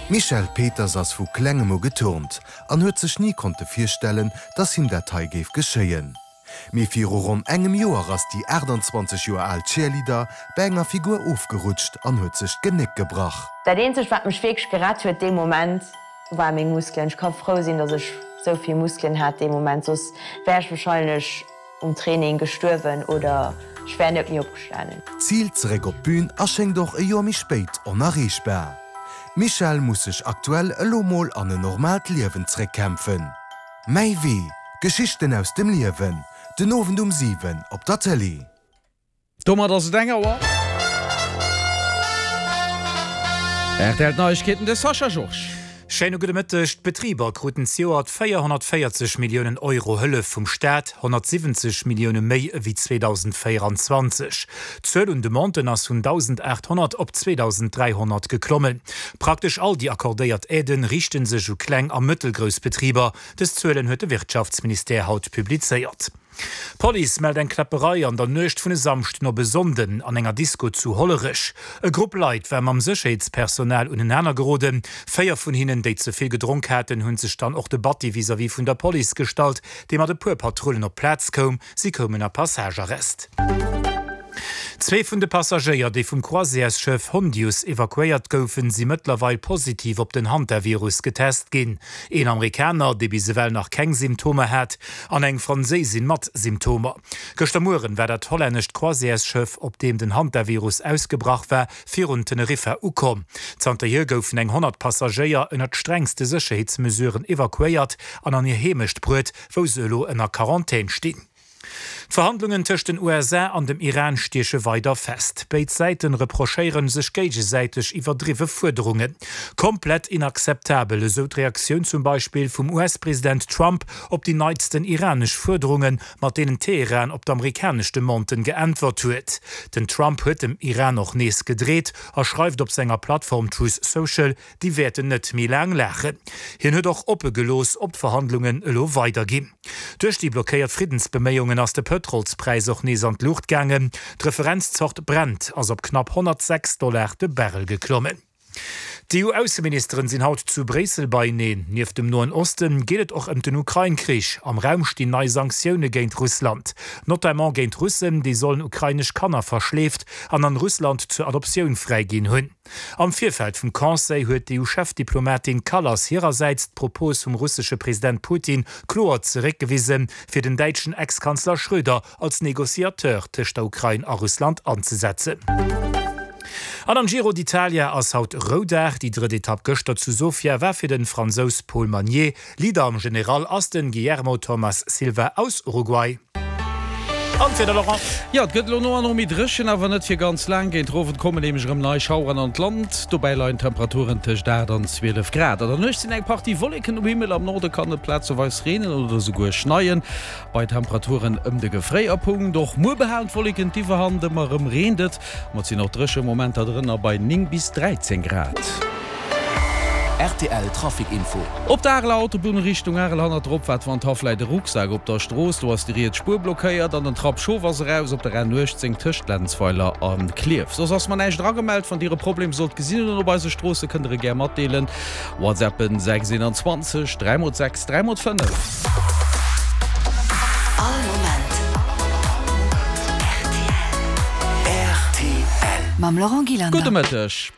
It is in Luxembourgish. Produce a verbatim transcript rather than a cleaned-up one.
D'Michèle Peters ass vu klengem u geturnt an huet sech ni konnte virstellen, dass him dat hei géif geschéien. Mee viru ronn engem Joer ass déi aachtanzwanzeg Joer al Cheerleader bei enger Figur ofgerutscht an huet sech d'Genéck gebrach. Dat eenzegt wat mech wierklech gerett huet dee Moment war meng Muskelen. Ech ka frou sinn, dass ech sou vill Muskelen hat dee Moment, soss wär ech wahrscheinlech um Training gestuerwen oder ech wär net méi opgestanen. D'Zil zeréck op d'Bün erschéngt och e Joer méi spéit onerreechbar. D'Michèle muss sech aktuell elo mol an en normaalt Liewen zeréckkämpfen. Mäi Wee, Geschichten aus dem Liewen, den Owend um siwen op der Tëlee. Domat ass et eng Auer. R T L Neiegkeeten, de Sascha Georges. Schéine gudde Mëtteg. D'Betriber kruten zejoert véierhonnertvéierzeg Milliounen Euro Hëllef vum Staat, honnertsiwwenzeg Millioune méi ewéi zweedausendvéieranzwanzeg. D'Zuel un Demanden ass vun dausendaathonnert op zweedausendräihonnert geklommen. Praktesch all déi accordéiert Aiden riichte sech u kleng a mëttelgrouss Betriber. Dës Zuelen huet de Wirtschaftsministère haut publizéiert. D'Police mellt eng Kläpperei an der Nuecht vun e Samschden op e Sonnden an enger Disko zu Hollerech. E Grupp Leit war mam Sécherheetspersonal unenaner geroden. Véier vun hinnen, déi ze vill gedronk haten, hu sech dann och de Batti vis-à-vis vun der Police gestallt, déi mat e puer Patrullen op d'Plaz koum. Si koumen a Passagearrest. Zwee vun de Passagéier, déi vum Croisièresschëff Hondius evakuéiert goufen, si mëttlerweil positiv op den Hantavirus getest ginn. Een Amerikaner, dee bis ewell nach keng Symptomer hat, an eng Franséisin mat Symptomer. Gëschter Mueren war dat hollännescht Croisièresschëff, op deem den Hantavirus ausgebrach war, virun Teneriffa ukomm. Zanterhier goufen eng honnert Passagéier ënnert strengste Sécherheetsmesuren evakuéiert an an hir Heemecht bruet, wou se elo ënner Quarantän stinn. D'Verhandlungen tëscht den U S A an dem Iran stieche weider fest. Béid Säite reprochéiere sech géigesäiteg iwwerdriwwe Fuerderungen. Komplett inakzeptabel, esou d'Reaktioun zum Beispill vum U S-President Trump op déi neitsten iranesch Fuerderungen, mat deenen Teheran op d'amerikanesch Demanden geäntwert huet. Den Trump huet dem Iran och nees gedreet a schreift op senger Plattform Truth Social, déi wäerten net méi laang laachen. Hien huet och oppe gelooss, ob d'Verhandlungen elo weiderginn. Duerch déi blockéiert Friddensbeméiungen ass de Pëtrolspräis och nees an d'Luucht gaangen. D'Referenzzort Brent ass op knapp honnertsechs Dollar de Barrel geklommen. D'EU-Ausseministeren sinn haut zu Bréissel beieneen. Nieft dem Noen Osten geet et och ëm den Ukrain-Krich. Am Raum stinn nei Sanktioune géint Russland. Notamment géint Russen, déi sollen ukrainesch Kanner verschleeft an an Russland zur Adoptioun fräiginn hunn. Am Virfeld vum Conseil huet d'EU-Chefdiplomatin Kallas hirersäits d'Propos vum russesche President Putin kloer zeréckgewisen, fir den däitschen Ex-Kanzler Schröder als Negociateur tëscht der Ukrain a Russland anzesetzen. An am Giro d'Italia ass haut Roudag. Déi drëtt Etapp gëschter zu Sofia war fir de Fransous Paul Magnier. Leader am General ass de Guillermo Thomas Silva aus Uruguay. An d'Wieder, Laurent. Jo, et gëtt elo no an no méi dréchen, awer net fir ganz laang. Géint den Owend kommen nämlech erëm nei Schaueren an d'Land. Dobäi leien d'Temperaturen tëscht aacht an zwielef Grad. An der Nuecht sinn eng Partie Wolleken um Himmel, am Norde kann et plazeweis reenen oder esouguer schneien, bei Temperaturen ëm de Gefréierpunkt. Och muer behalen d'Wolleken d'Iwwerhand, ëmmer erëm reent et, ma et sinn och dréche Momenter drënner bei néng bis dräizéng Grad. R T L Trafic Info. Op der Areler Autobunn Richtung Arel hannert der Opfaart Wandhaff läit e Rucksak op der Strooss. Do ass déi riets Spuer blockéiert an den Trapp Schof ass eraus op der N uechtzéng tëscht Lenzweiler a Klierf. Soss ass mer näischt eragemellt. Wann Dir e Problem sollt gesinn hunn op eise Stroosse kënnt der e gär matdeelen. WhatsAppen sechs eenanzwanzeg dräi mol sechs dräi mol fënnef. All Moment R T L. Mam Laurent Gillander. Gudde Mëtteg.